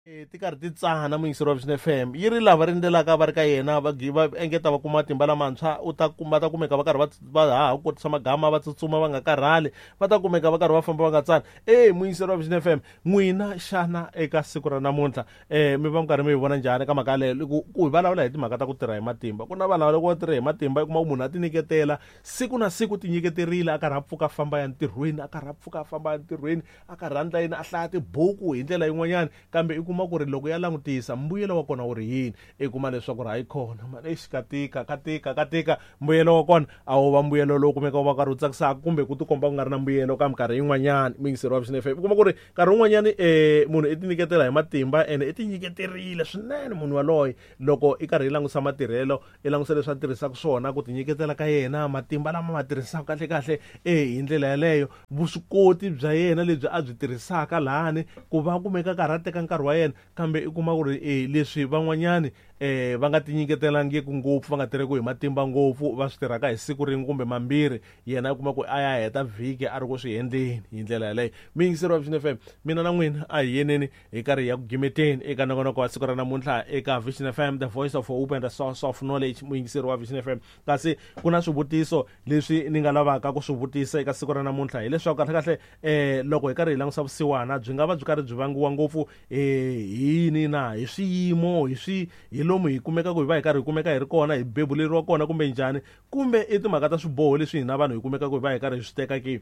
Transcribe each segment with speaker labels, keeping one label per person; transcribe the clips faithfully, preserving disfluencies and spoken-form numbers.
Speaker 1: Ti karhi ti tsana muyingiseri wa Vision F M yi ri lava rindzelaka va ri ka yena va va engeta va kuma matimba lamantshwa u ta kuma ta kumeka va karhi va va haha ku kotisa magama va tsutsuma va nga karhali va ta kumeka va karhi va famba va nga tsani. E muyingiseri wa Vision F M n'wina xana eka siku ra namuntlha um mi va mi karhi mi yi vona njhani ka mhaka yaleyo ku ku hi vulavula hi timhaka ta ku tirha hi matimba ku na vanhu lava loko va tirha hi matimba i kuma ku munhu a ti nyiketela siku na siku ti nyiketerile a karhi a pfuka a famba ya ntirhweni a karhi a pfuka a famba ya ntirhweni a karhi a ndla yini a hlaya tibuku hi ndlela yin'wanyana kambe i kuma ku ri loko ya langutisa mbuyelo wa kona wu ri yini i kuma leswaku ri hayi khona mani exi ka tika ka tika ka tika mbuyelo wa kona a wu va mbuyelo lowu kumeka wu va karhi wu tsakisaka kumbe ku tikomba ku nga ri na mbuyelo ka minkarhi yin'wanyana muyingiseri wa Vision F M u kuma ku ri nkarhi wun'wanyani um munhu i tinyiketela hi matimba ene i tinyiketerile swinene munhu waloye loko i karhi i langusa matirhelo i langusa leswi a tirhisaka swona ku tinyiketela ka yena matimba lama ma tirhisaka kahle kahle e hi ndlela yaleyo vuswikoti bya yena lebyi a byi tirhisaka lahani ku va kumeka karhi a teka nkarhi wa yena kambe i kuma ku ri e leswi van'wanyani eh va nga tinyiketelangiki ngopfu va nga tirheki hi matimba ngopfu va swi tirhaka hi siku rin'we kumbe mambirhi yena i kuma ku a ya heta vhiki a ri ku swi endleni hi ndlela yaleyo. Muyingiseri wa Vision F M mina na n'wina a hi yeneni hi karhi hi ya ku gimeteni eka nongonoko wa siku ra namuntlha eka Vision F M, the voice of hope and the source of knowledge. Muyingiseri wa Vision F M kasi ku na swivutiso leswi ni nga lavaka ku swi vutisa eka siku ra namuntlha hileswaku kahle kahle eh loko hi karhi hi langusa vusiwana byi nga va byi karhi byi vangiwa ngopfu eh hi yini na hi swiyimo hi swi hi lomu hi kumeka ku hi va hi karhi hi kumeka hi ri kona hi bebuleriwa kona kumbe njhani kumbe i timhaka ta swiboho leswi hina vanhu hi kumeka ku hi va hi karhi hi swi teka ke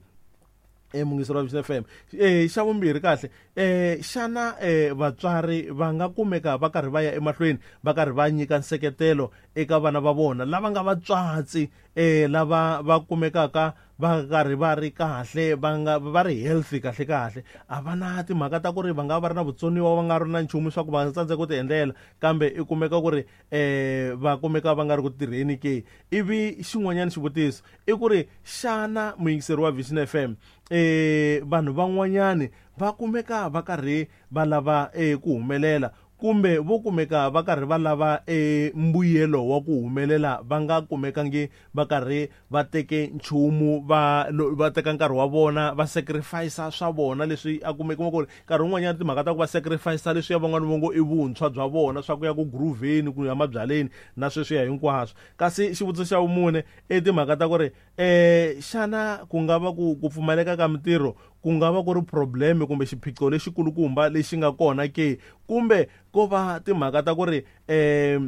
Speaker 1: e muyingiseri wa Vision F M. Eh xa vumbirhi kahle eh xana eh vatswari va nga kumeka va karhi va ya emahlweni va karhi va nyika nseketelo eka vana va vona lava nga vatswatsi eh lava va kumekaka va karhi va ri kahle va nga va ri healthy kahle kahle a va na timhaka ta ku ri va nga va ri na vutsoniwa va nga ri na nchumu swa ku va tsandzeka ku ti endlela kambe i kumeka ku ri eh va kumeka va nga ri ku tirheni ke. Ivi xin'wanyana xivutiso i ku ri xana muyingiseri wa Vision F M eh vanhu van'wanyani va kumeka va karhi va lava eh ku humelela kumbe vo kumeka va karhi va lava e mbuyelo wa ku humelela va nga kumekangi va karhi va teke nchumu va va teka nkarhi wa vona va sacrifice swa vona leswi a kumeka ku ri nkarhi wun'wanyana timhaka ta ku va sacrifice leswi ya van'wana va ngo i vuntshwa bya vona swa ku ya ku grooveni ku ya mabyaleni na sweswiya hinkwaswo. Kasi xivutiso xa vumune i timhaka ta ku ri eh xana ku nga va ku ku pfumaleka ka mintirho ku nga va ku ri problem kumbe xiphiqo lexikulukumba lexi nga kona ke kumbe ko va timhaka ta ku ri eh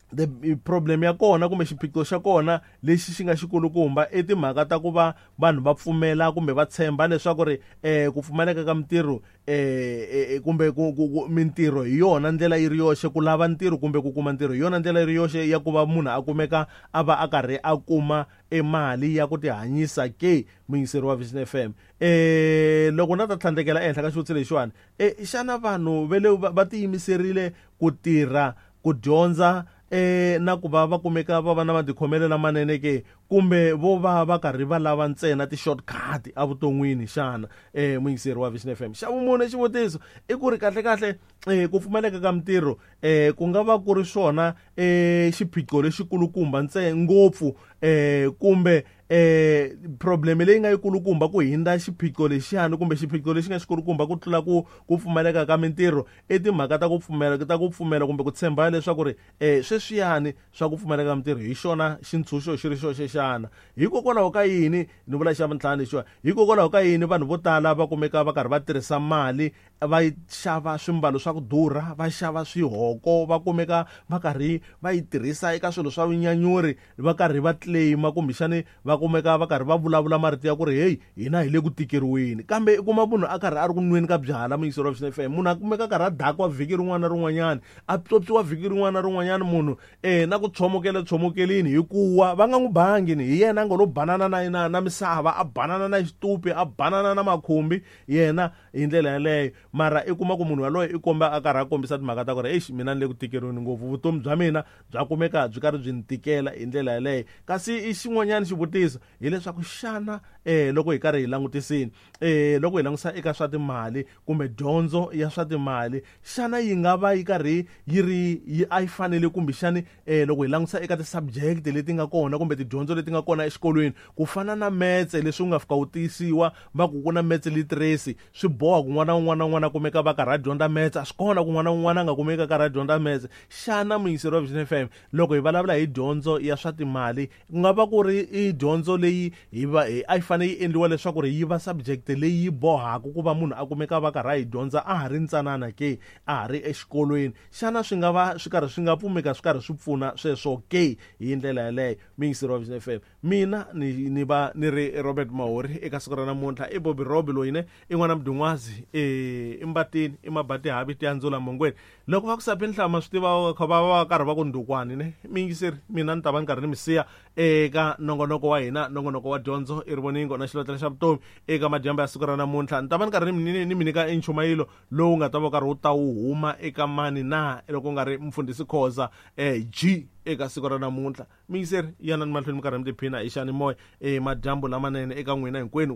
Speaker 1: the problem ya kona kumbe xiphiqo xa kona lexi xi nga xikulukumba i timhaka ta ku va vanhu va pfumela kumbe va tshemba leswaku ri eh ku pfumaleka ka mintirho eh kumbe ku mintirho hi yona ndlela yi ri yoxe ku lava ntirho kumbe ku kuma ntirho hi yona ndlela yi ri yoxe ya ku va munhu a kumeka a va a karhi a kuma emali ya ku tihanyisa ke. Muyingiseri wa Vision F M eh loko na ta tlhandlekela ehenhla ka xivutiso lexiwani eh xana vanhu va le va tiyimiserile ku tirha ku dyondza eh na ku va va kumeka va va na matikhomelo lamanene ke kumbe vo va va karhi va lava ntsena ti-shortcut evuton'wini xana eh muyingiseri wa Vision F M. Xa vumune xivutiso i ku ri kahle kahle eh ku pfumaleka ka mintirho eh ku nga va ku ri swona eh xiphiqo lexikulukumba ntsena ngopfu eh kumbe eh problem leyi nga yikulukumba ku hindza xiphiqo lexiyani kumbe xiphiqo lexi nga xikulukumba ku tlula ku ku pfumaleka ka mintirho i timhaka ta ku pfumela ta ku pfumela kumbe ku tshemba leswaku ri eh sweswiyani swa ku pfumaleka ka mintirho hi xona xintshunxo xi ri xoxe xana. Hikokwalaho ka yini ni vula xa vuntlhanu lexiwa hikokwalaho ka yini vanhu vo tala va kumeka va karhi va tirhisa mali va xava swimbalo swa ku durha va xava swihoko va kumeka va karhi va yi tirhisa eka swilo swa vunyanyuri va karhi va claima kumbexani va kumeka va karhi va vulavula marito ya ku ri hey hina hi le ku tikeriweni kambe i kuma munhu a karhi a ri ku nweni ka byala muyingiseri wa Vision F M munhu a kumeka a karhi a dakwa vhiki rin'wana na rin'wanyana a pyopyiwa vhiki rin'wana na rin'wanyana munhu eh na ku tshomokela tshomokeleni hikuva va nga n'wi bangi ni hi yena a nga lo banana na na na misava a banana na xitupi a banana na makhumbi yena hi ndlela yaleyo mara i kuma ku munhu yaloye i komba a karhi a kombisa timhaka ta ku ri eish mina ni le ku tikeriweni ngopfu vutomi bya mina bya kumeka byi karhi byi ni tikela hi ndlela yaleyo. Kasi i xin'wanyana xivutiso hileswaku xana eh loko hi karhi hi langutisini eh loko hi langusa eka swa timali kumbe dyondzo ya swa timali xana yi nga va yi karhi yi ri yi a yi fanele kumbexani eh loko hi langusa eka ti-subject leti nga kona kumbe tidyondzo leti nga kona exikolweni ku fana na metse leswi u nga fika u tiyisiwa va ku ku na metse literacy swi boha ku n'wana un'wana na un'wana un'wana a kumeka va karhi a dyondza metse a swi kona ku n'wana un'wana a nga kumeki a karhi a dyondza metse xana muyingiseri wa Vision F M loko hi vulavula hi dyondzo ya swa timali ku nga va ku ri i dyondzo leyi hi va a yi fanele yi endliwa leswaku ri yi va subject leyi yi bohaka ku va munhu a kumeka va karhi a yi dyondza a ha ri ntsanana ke a ha ri exikolweni xana swi nga va swi karhi swi nga pfumeka swi karhi swi pfuna sweswo ke hi ndlela yaleyo muyingiseri wa Vision F M mina ni ni va ni ri Robert Mahori eka siku ra namuntlha i Bobby Robi loyi ne i n'wana mudun'wazi i mbatini i mabati havi tiyandzula mongweni loko va ku sapi nhlama swi tiva kha va va karhi va ku ndukwani ne miyingiseri mina ni ta va ni karhi ni mi siya eka nongonoko wa hina nongonoko wa dyondzo i rivoningo na xilotlela xa vutomi eka madyambu ya siku ra namuntlha ni ta va ni karhi ni ni mi nyika enchumayelo lowu nga ta va karhi wu ta wu huma eka mani na loko nga ri mfundhisi Khoza G eka siku ra namuntlha miyingiseri yanani mahlweni mi karhi mi tiphina hi xiyanimoya e madyambu lamanene eka n'wina hinkwenu.